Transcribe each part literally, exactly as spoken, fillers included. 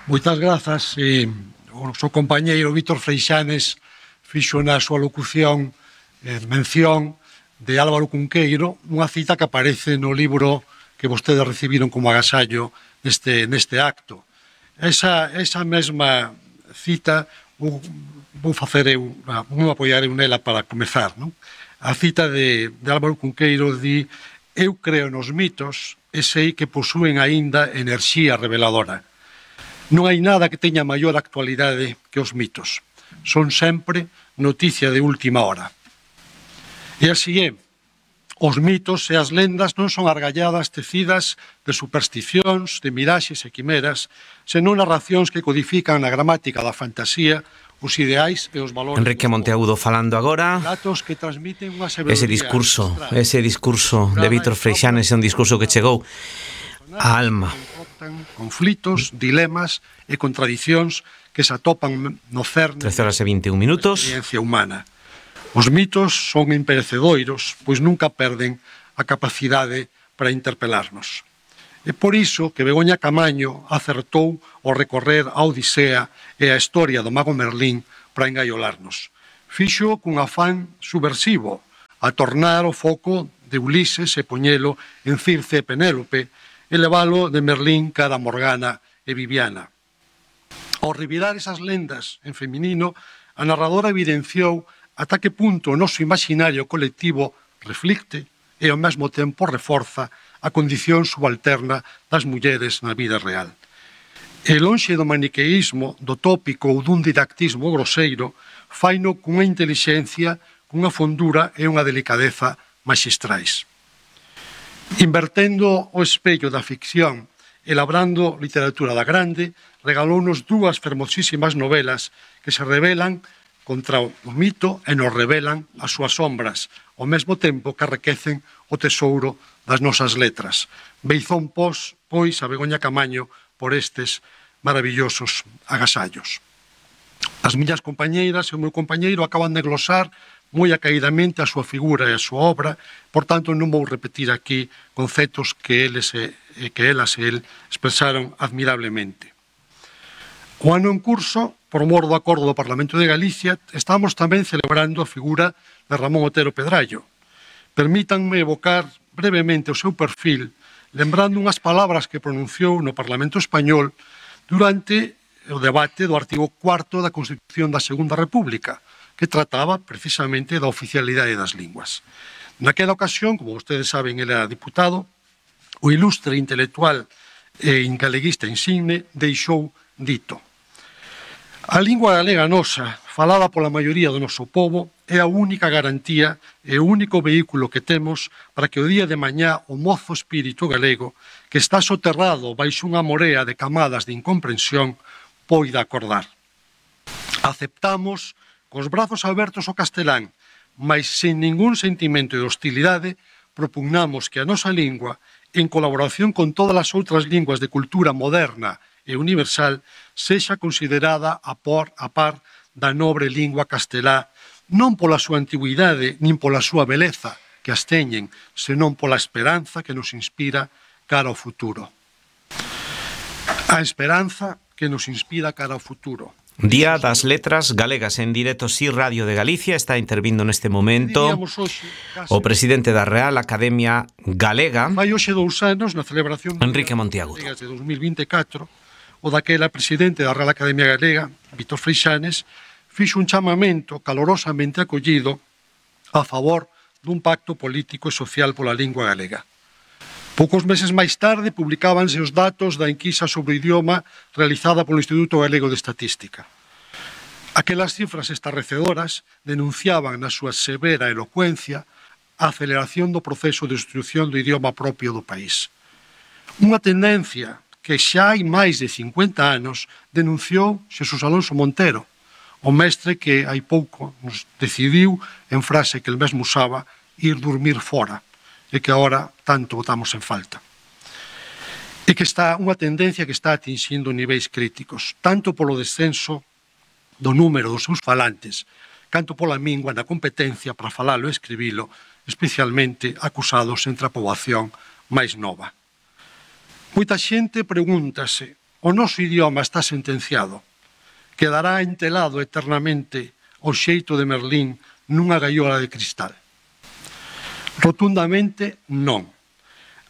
Moitas grazas. Eh, o seu compañeiro Vítor Freixanes fixo na súa locución eh, mención de Álvaro Cunqueiro, unha cita que aparece no libro que vostedes recibiron como agasallo neste, neste acto. Esa, esa mesma cita vou, vou facer eu, vou apoiar eu nela para comezar, non? A cita de, de Álvaro Cunqueiro di: eu creo nos mitos e sei que posúen aínda enerxía reveladora. Non hai nada que teña maior actualidade que os mitos. Son sempre noticia de última hora. E así é. Os mitos e as lendas non son argalladas tecidas de supersticións, de miraxes e quimeras, senón narracións que codifican na gramática da fantasía os ideais e os valores. Enrique Monteagudo falando agora. Datos que transmiten unha sabedoría. Ese discurso, ese discurso de Vítor Freixanes é un discurso que chegou á alma. Conflitos, dilemas e contradicións que se atopan no cerne trece horas e vinte e un minutos. Da experiencia humana. Os mitos son imperecedoiros, pois nunca perden a capacidade para interpelarnos. É por iso que Begoña Camaño acertou ao recorrer a Odisea e a historia do mago Merlín para engaiolarnos. Fixo cun afán subversivo, a tornar o foco de Ulises e poñelo en Circe e Penélope, e leválo de Merlín cara a Morgana e Viviana. Ao revirar esas lendas en feminino, a narradora evidenciou ata que punto o noso imaginario colectivo reflicte e ao mesmo tempo reforza a condición subalterna das mulleres na vida real. E lonxe do maniqueísmo, do tópico ou dun didactismo groseiro, faino cunha intelixencia, cunha fondura e unha delicadeza maxistrais. Invertendo o espello da ficción e labrando literatura da grande, regalounos dúas fermosísimas novelas que se rebelan contra o mito e nos revelan as súas sombras, ao mesmo tempo que arrequecen o tesouro das nosas letras. Beizón pos, pois, a Begoña Camaño por estes maravillosos agasallos. As miñas compañeiras e o meu compañeiro acaban de glosar moi acaidamente a súa figura e a súa obra, por tanto non vou repetir aquí conceptos que, eles e, que elas e el expresaron admirablemente. O ano en curso, por mor do acordo do Parlamento de Galicia, estamos tamén celebrando a figura de Ramón Otero Pedrallo. Permítanme evocar brevemente o seu perfil, lembrando unhas palabras que pronunciou no Parlamento Español durante o debate do artigo cuarto da Constitución da Segunda República, que trataba precisamente da oficialidade das linguas. Naquela ocasión, como vostedes saben, ele era diputado, o ilustre intelectual e galeguista insigne deixou dito: a lingua galega nosa, falada pola maioría do noso povo, é a única garantía e o único vehículo que temos para que o día de mañá o mozo espírito galego, que está soterrado baixo unha morea de camadas de incomprensión, poida acordar. Aceptamos cos brazos abertos ao castelán, mas sen ningún sentimento de hostilidade, propugnamos que a nosa lingua, en colaboración con todas as outras linguas de cultura moderna e universal, sexa considerada a par, a par da nobre lingua castelá, non pola súa antigüidade, nin pola súa beleza que as teñen, senón pola esperanza que nos inspira cara ao futuro. A esperanza que nos inspira cara ao futuro. Día das Letras Galegas en directo Si Radio de Galicia. Está intervindo neste momento o presidente da Real Academia Galega, Vai hoxe dous anos na celebración Enrique Monteagudo de dos mil vinte e catro, o daquela presidente da Real Academia Galega, Vítor Freixanes, fixo un chamamento calorosamente acollido a favor dun pacto político e social pola lingua galega. Poucos meses máis tarde publicábanse os datos da enquisa sobre o idioma realizada polo Instituto Galego de Estatística. Aquelas cifras estarrecedoras denunciaban na súa severa elocuencia a aceleración do proceso de instrución do idioma propio do país. Unha tendencia que xa hai máis de cincuenta anos denunciou Xesús Alonso Montero, o mestre que hai pouco nos decidiu, en frase que el mesmo usaba, ir dormir fora, e que agora tanto botamos en falta. E que está unha tendencia que está atingindo niveis críticos, tanto polo descenso do número dos seus falantes, canto pola mingua na competencia para falalo e escribilo, especialmente acusados entre a poboación máis nova. Moita xente pregúntase o noso idioma está sentenciado. Quedará entelado eternamente o xeito de Merlín nunha gaiola de cristal. Rotundamente non.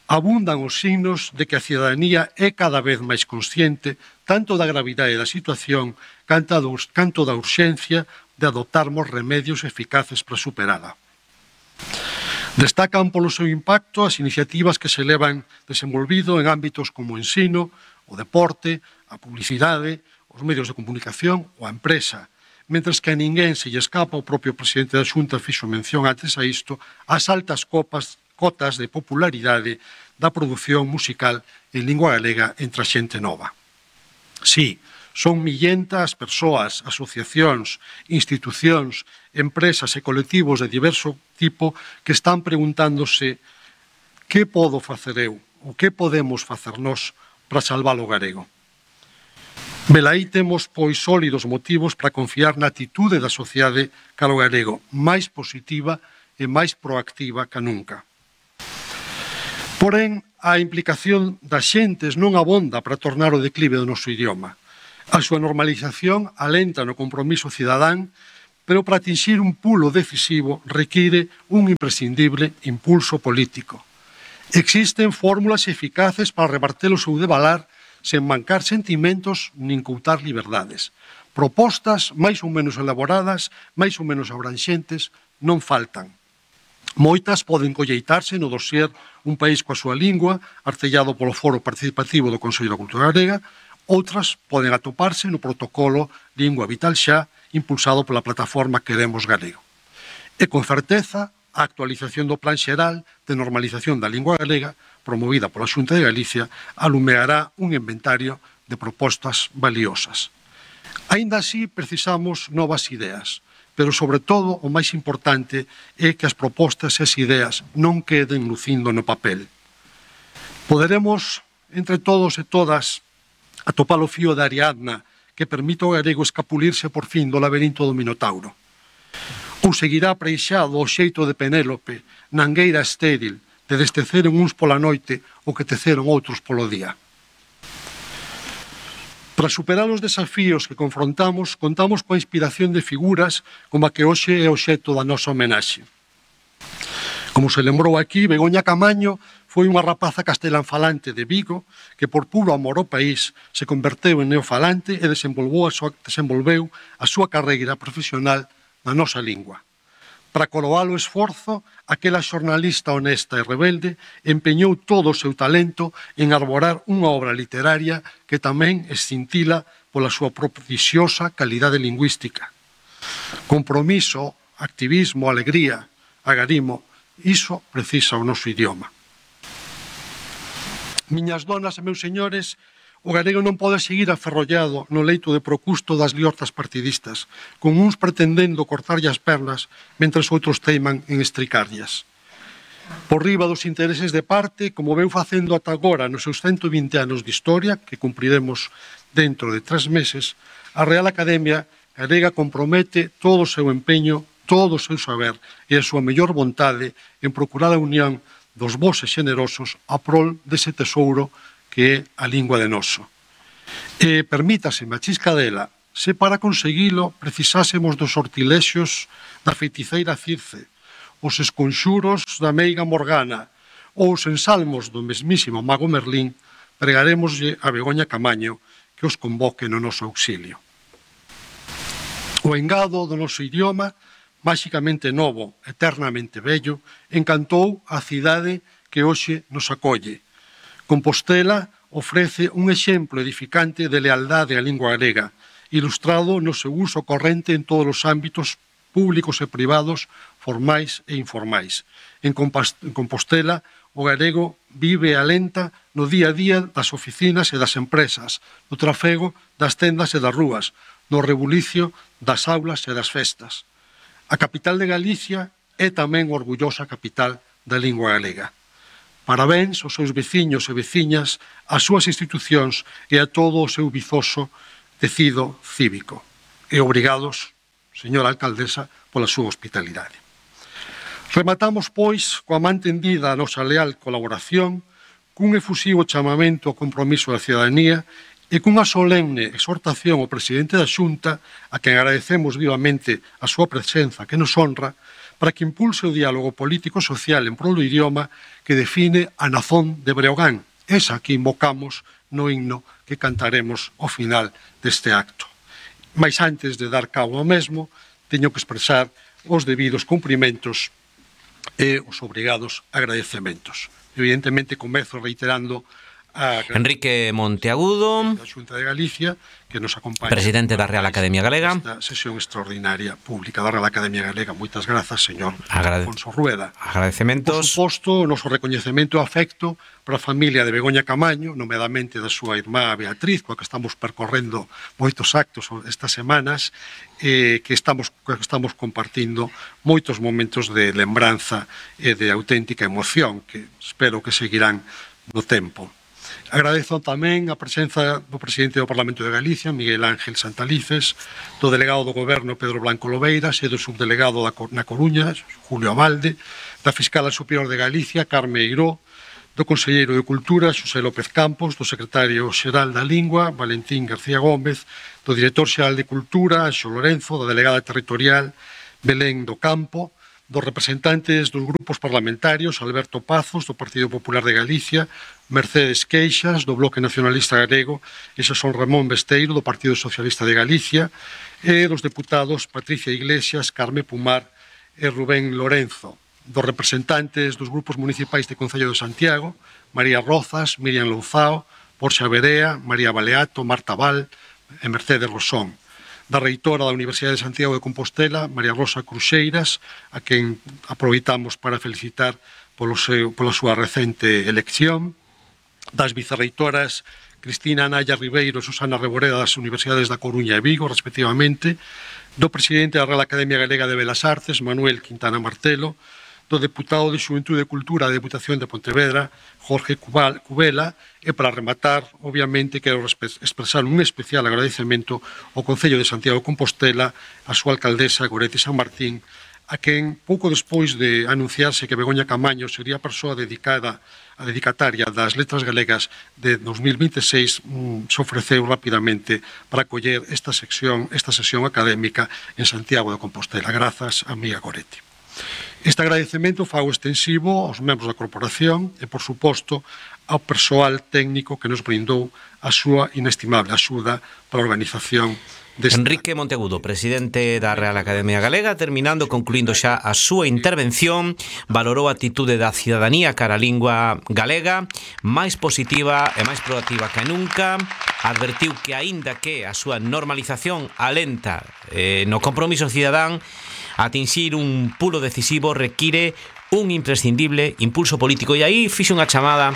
Abundan os signos de que a cidadanía é cada vez máis consciente tanto da gravidade da situación canto da urxencia de adoptarmos remedios eficaces para superala. Destacan polo seu impacto as iniciativas que se levan desenvolvido en ámbitos como o ensino, o deporte, a publicidade, os medios de comunicación ou a empresa, mentres que a ninguén se lle escapa, o propio presidente da Xunta fixo mención antes a isto, as altas copas cotas de popularidade da produción musical en lingua galega entre a xente nova. Sí, son millentas persoas, asociacións, institucións, empresas e colectivos de diverso tipo que están preguntándose que podo facer eu, ou que podemos facer nós para salvar o galego. Velaí temos, pois, sólidos motivos para confiar na atitude da sociedade cara ao galego, máis positiva e máis proactiva que nunca. Porén, a implicación das xentes non abonda para tornar o declive do noso idioma. A súa normalización alenta no compromiso cidadán, pero para atinxir un pulo decisivo require un imprescindible impulso político. Existen fórmulas eficaces para reverter o seu devalar sen mancar sentimentos nin coutar liberdades. Propostas máis ou menos elaboradas, máis ou menos abranxentes, non faltan. Moitas poden colleitarse no dossier Un país coa súa lingua, artellado polo Foro Participativo do Consello da Cultura Galega, outras poden atoparse no protocolo Lingua Vital Xa, impulsado pola plataforma Queremos Galego. E con certeza, a actualización do Plan Xeral de Normalización da Lingua Galega, promovida pola Xunta de Galicia, alumeará un inventario de propostas valiosas. Aínda así, precisamos novas ideas, pero, sobre todo, o máis importante é que as propostas e as ideas non queden lucindo no papel. Poderemos, entre todos e todas, atopar o fío da Ariadna que permite ao galego escapulirse por fin do laberinto do Minotauro. Ou seguirá preixado o xeito de Penélope, na angueira estéril, de desteceren uns pola noite o que teceron outros polo día. Para superar os desafíos que confrontamos, contamos coa inspiración de figuras como a que hoxe é o obxecto da nosa homenaxe. Como se lembrou aquí, Begoña Camaño foi unha rapaza castelanfalante de Vigo que, por puro amor ao país, se converteu en neofalante e desenvolveu a súa, desenvolveu a súa carreira profesional na nosa lingua. Para coroar o esforzo, aquela xornalista honesta e rebelde empeñou todo o seu talento en arborar unha obra literaria que tamén escintila pola súa prodigiosa calidade lingüística. Compromiso, activismo, alegría, agarimo, iso precisa o noso idioma. Miñas donas e meus señores, o galego non pode seguir aferrollado no leito de Procusto das liortas partidistas, con uns pretendendo cortarlle as pernas, mentres outros teiman en estricarllas. Por riba dos intereses de parte, como veu facendo ata agora nos seus ciento vinte anos de historia, que cumpriremos dentro de tres meses, a Real Academia Galega compromete todo o seu empeño, todo o seu saber e a súa mellor vontade en procurar a unión dos bos e xenerosos a prol dese tesouro que é a lingua de noso. E permítase, machisca dela, se para conseguilo precisásemos dos sortilexios da feiticeira Circe, os esconxuros da meiga Morgana ou os ensalmos do mesmísimo mago Merlín, pregaremoslle a Begoña Camaño que os convoque no noso auxilio. O engado do noso idioma, máxicamente novo, eternamente bello, encantou a cidade que hoxe nos acolle. Compostela ofrece un exemplo edificante de lealdade á lingua galega, ilustrado no seu uso corrente en todos os ámbitos públicos e privados, formais e informais. En Compostela, o galego vive e alenta no día a día das oficinas e das empresas, no trafego das tendas e das rúas, no rebulicio das aulas e das festas. A capital de Galicia é tamén orgullosa capital da lingua galega. Parabéns aos seus veciños e veciñas, ás súas institucións e a todo o seu vizoso tecido cívico. E obrigados, señora alcaldesa, pola súa hospitalidade. Rematamos, pois, coa man tendida a nosa leal colaboración, cun efusivo chamamento ao compromiso da cidadanía e cunha solemne exhortación ao presidente da Xunta, a quen agradecemos vivamente a súa presenza que nos honra, para que impulse o diálogo político-social en prol do idioma que define a nazón de Breogán, esa que invocamos no himno que cantaremos ao final deste acto. Mais antes de dar cabo ao mesmo, teño que expresar os debidos cumprimentos e os obrigados agradecementos. Evidentemente, comezo reiterando a Enrique Monteagudo, da Xunta de Galicia, que nos acompaña, presidente da Real Academia Galega. Esta sesión extraordinaria pública da Real Academia Galega. Moitas grazas, señor Agrade... Alfonso Rueda. Agradecementos. Por suposto, o noso recoñecemento e afecto para a familia de Begoña Camaño, nomeadamente da súa irmá Beatriz, coa que estamos percorrendo moitos actos estas semanas, eh, que estamos, que estamos compartindo moitos momentos de lembranza e de auténtica emoción, que espero que seguirán no tempo. Agradezo tamén a presenza do presidente do Parlamento de Galicia, Miguel Ángel Santalices, do delegado do Goberno, Pedro Blanco Lobeiras, e do subdelegado na Coruña, Julio Abalde, da fiscala superior de Galicia, Carme Eiró, do conselleiro de Cultura, Xosé López Campos, do secretario xeral da Lingua, Valentín García Gómez, do director xeral de Cultura, Anxo Lorenzo, da delegada territorial, Belén do Campo, dos representantes dos grupos parlamentarios, Alberto Pazos, do Partido Popular de Galicia, Mercedes Queixas, do Bloque Nacionalista Galego, e son Ramón Besteiro, do Partido Socialista de Galicia, e dos deputados Patricia Iglesias, Carme Pumar e Rubén Lorenzo, dos representantes dos grupos municipais de Concello de Santiago, María Rozas, Miriam Louzao, Porxa Berea, María Baleato, Marta Val e Mercedes Rosón, da reitora da Universidade de Santiago de Compostela, María Rosa Cruxeiras, a quen aproveitamos para felicitar polo seu, pola súa recente elección, das vicerreitoras Cristina Anaya Ribeiro e Susana Reboreda das Universidades da Coruña e Vigo, respectivamente, do presidente da Real Academia Galega de Belas Artes, Manuel Quintana Martelo, do deputado de Xuventude e Cultura da Deputación de Pontevedra, Jorge Cubela, e para rematar, obviamente, quero expresar un especial agradecemento ao Concello de Santiago de Compostela, a súa alcaldesa Goretti San Martín, a quen, pouco despois de anunciarse que Begoña Camaño sería a persoa dedicada, a dedicataria das letras galegas de dos mil vinte e seis, mm, se ofreceu rapidamente para acoller esta sección, esta sesión académica en Santiago de Compostela. Grazas, amiga Goretti. Este agradecemento fago extensivo aos membros da corporación e, por suposto, ao persoal técnico que nos brindou a súa inestimable axuda para a organización desta. Enrique Monteagudo, presidente da Real Academia Galega, terminando, concluindo xa a súa intervención, valorou a atitude da cidadanía cara a lingua galega, máis positiva e máis proactiva que nunca, advertiu que aínda que a súa normalización alenta eh, no compromiso cidadán, atinxir un pulo decisivo require un imprescindible impulso político, e aí fixe unha chamada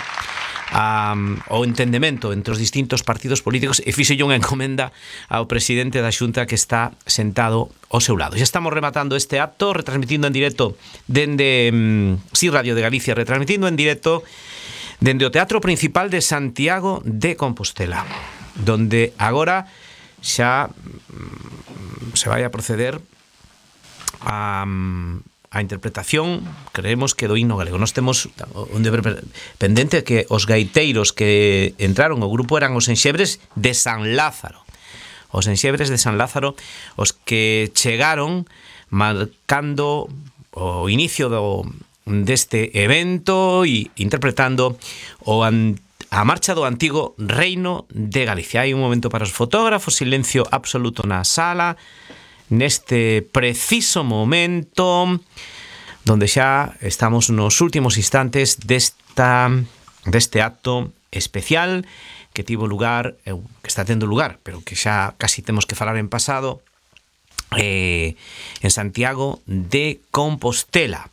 a, ao entendemento entre os distintos partidos políticos e fixe unha encomenda ao presidente da Xunta que está sentado ao seu lado. Xa estamos rematando este acto, retransmitindo en directo dende um, Sí Radio de Galicia, retransmitindo en directo dende o Teatro Principal de Santiago de Compostela, donde agora xa um, se vai a proceder a, a interpretación, creemos que do himno galego. Nós temos un deber pendente que os gaiteiros que entraron ao grupo eran os enxebres de San Lázaro. Os enxebres de San Lázaro, os que chegaron marcando o inicio do, deste evento e interpretando o an, a marcha do antigo Reino de Galicia. Hai un momento para os fotógrafos, silencio absoluto na sala, neste preciso momento donde xa estamos nos últimos instantes desta, deste acto especial que tivo lugar, que está tendo lugar, pero que xa casi temos que falar en pasado, eh, en Santiago de Compostela,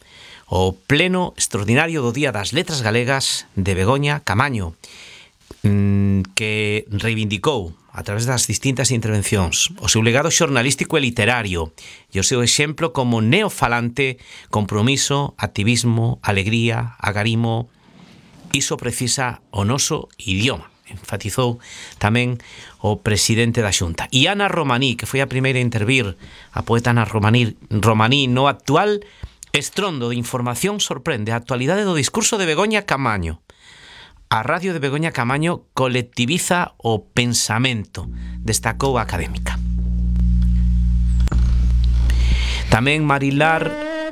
o pleno extraordinario do Día das Letras Galegas de Begoña Camaño, que reivindicou a través das distintas intervencións o seu legado xornalístico e literario e o seu exemplo como neofalante, compromiso, activismo, alegría, agarimo. Iso precisa o noso idioma, enfatizou tamén o presidente da Xunta. E Ana Romaní, que foi a primeira a intervir, a poeta Ana Romaní, Romaní no actual estrondo de información sorprende a actualidade do discurso de Begoña Camaño. A radio de Begoña Camaño colectiviza o pensamento, destacou a académica. Tamén Marilar